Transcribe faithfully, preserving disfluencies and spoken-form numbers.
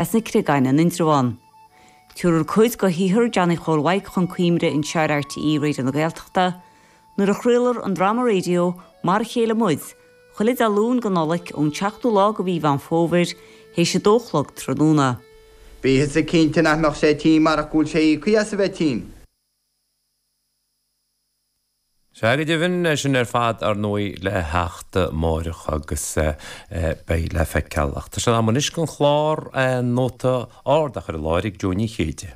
As na Creagáin in Indreabhán. Tabharfar cuid de shaothar Johnny Chóil Mhaidhc chun cuimhne anseo ar RTÉ Raidió na Gaeltachta nuair a chraolfar an dráma raidió Mar a Chéile Muid, chuile Dé Luain den Nollaig ón seachtú lá de mhí Mheán Fómhair théis a dó a chlog tráthnóna. Bhíothas cinnte nach mbeadh sé tinn marach go bhfuil sé íoctha as a bheith tinn. Sea go deimhin é sin ar fad ar ndóigh le theacht amárach agus beidh le feiceáil. Ach tá sé am anois don chlár Nóta Ard a chur i láthair ag Joe Ní Chéide.